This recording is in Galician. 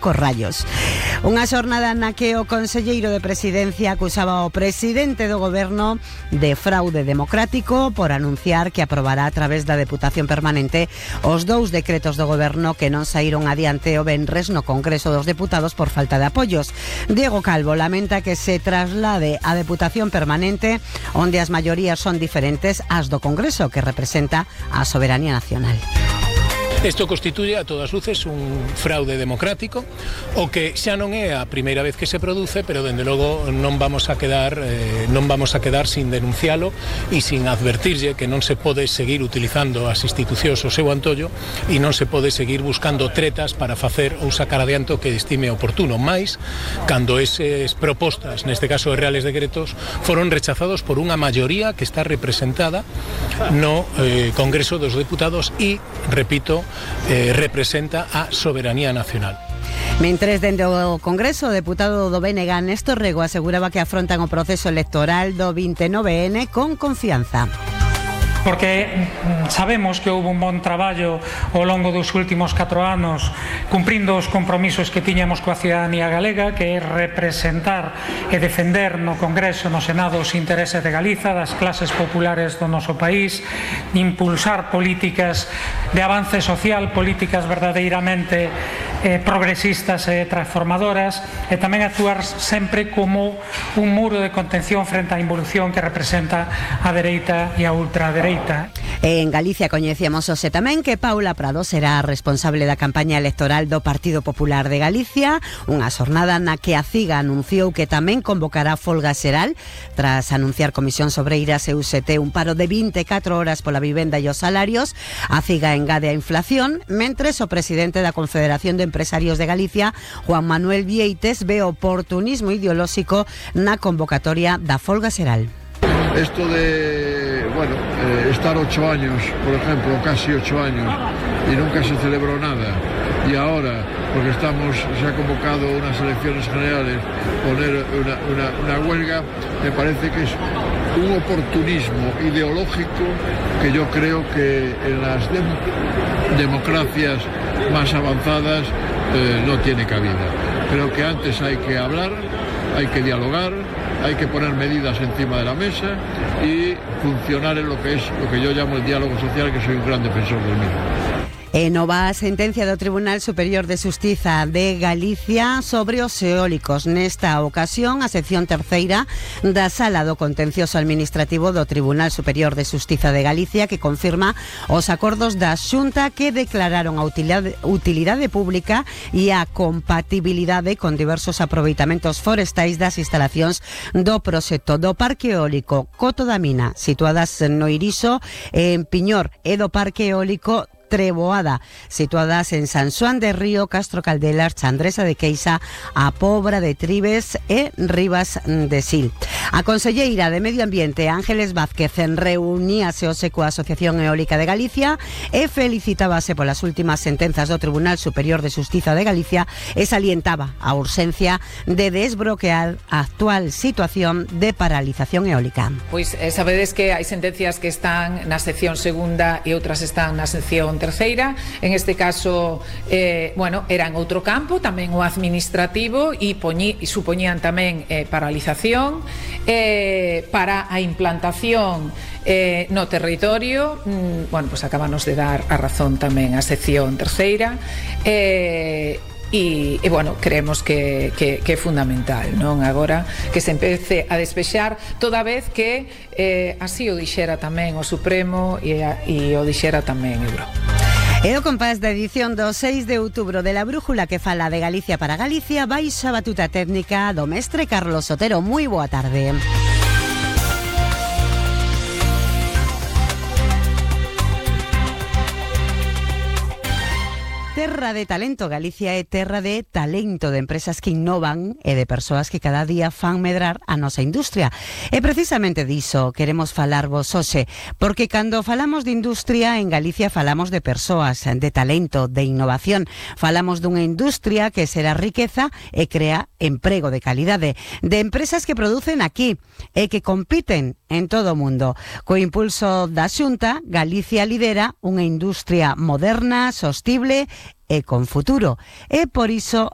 Rayos. Unha xornada na que o conselleiro de Presidencia acusaba ao presidente do goberno de fraude democrático por anunciar que aprobará a través da Deputación Permanente os 2 decretos do goberno que non saíron adiante o venres no Congreso dos Deputados por falta de apoios. Diego Calvo lamenta que se traslade a Deputación Permanente onde as maiorías son diferentes ás do Congreso, que representa a soberanía nacional. Isto constituye a todas luces un fraude democrático, o que xa non é a primeira vez que se produce, pero dende logo non vamos a quedar sin denuncialo e sin advertirlle que non se pode seguir utilizando as institucións o seu antollo e non se pode seguir buscando tretas para facer ou sacar adiante o que estime oportuno, máis cando eses propostas, neste caso de reales decretos, foron rechazados por unha maioría que está representada no Congreso dos Deputados e, repito, representa a soberanía nacional. Mentres dende o Congreso, o deputado do BNG Néstor Rego aseguraba que afrontan o proceso electoral do 29N con confianza. Porque sabemos que houve un bon traballo ao longo dos últimos 4 anos cumprindo os compromisos que tiñamos coa cidadanía galega, que é representar e defender no Congreso, no Senado, os intereses de Galiza, das clases populares do noso país, impulsar políticas de avance social, políticas verdadeiramente progresistas e transformadoras, e tamén actuar sempre como un muro de contención frente á involución que representa a dereita e a ultradereita. En Galicia coñecíamos hoxe tamén que Paula Prado será responsable da campaña electoral do Partido Popular de Galicia, unha xornada na que a CIGA anunciou que tamén convocará folga xeral tras anunciar Comisións Obreiras e UGT un paro de 24 horas pola vivenda e os salarios. A CIGA engade a inflación, mentres o presidente da Confederación de Empresarios de Galicia, Juan Manuel Vieites, ve oportunismo ideolóxico na convocatoria da folga xeral. Esto de, estar 8 años, por ejemplo, casi 8 años, y nunca se celebró nada, y ahora, porque se ha convocado unas elecciones generales, poner una huelga, me parece que es un oportunismo ideológico que yo creo que en las democracias más avanzadas no tiene cabida. Creo que antes hay que hablar, hay que dialogar, hay que poner medidas encima de la mesa y funcionar en lo que yo llamo el diálogo social, que soy un gran defensor del mismo. Nova sentencia do Tribunal Superior de Xustiza de Galicia sobre os eólicos. Nesta ocasión, a sección terceira da Sala do Contencioso Administrativo do Tribunal Superior de Xustiza de Galicia, que confirma os acordos da Xunta que declararon a utilidade pública e a compatibilidade con diversos aproveitamentos forestais das instalacións do proxecto do Parque Eólico Coto da Mina, situadas no Iriso, en Piñor, e do Parque Eólico Treboada, situadas en San Xoán de Río, Castro Caldelas, Chandresa de Queixa, a Pobra de Tribes e Rivas de Sil. A conselleira de Medio Ambiente, Ángeles Vázquez, reuníase hoxe coa Asociación Eólica de Galicia e felicitábase polas últimas sentenzas do Tribunal Superior de Xustiza de Galicia e salientaba a urxencia de desbloquear a actual situación de paralización eólica. Pois sabedes que hai sentencias que están na sección segunda e outras están na sección terceira. En este caso, era en outro campo, tamén o administrativo, e supoñían tamén paralización para a implantación no territorio. Acabanos de dar a razón tamén a sección terceira, e creemos que é fundamental, non? Agora que se empece a despexar, toda vez que así o dixera tamén o Supremo e o dixera tamén Euro. E o compás da edición do 6 de outubro de La Brújula, que fala de Galicia para Galicia, baixa a batuta técnica do mestre Carlos Sotero. Moi boa tarde. Terra de talento. Galicia é terra de talento, de empresas que innovan e de persoas que cada día fan medrar a nosa industria. E precisamente diso queremos falarvos hoxe, porque cando falamos de industria en Galicia falamos de persoas, de talento, de innovación. Falamos dunha industria que será riqueza e crea emprego de calidade, de empresas que producen aquí e que compiten en todo o mundo. Co impulso da Xunta, Galicia lidera unha industria moderna, sostible e con futuro. E por iso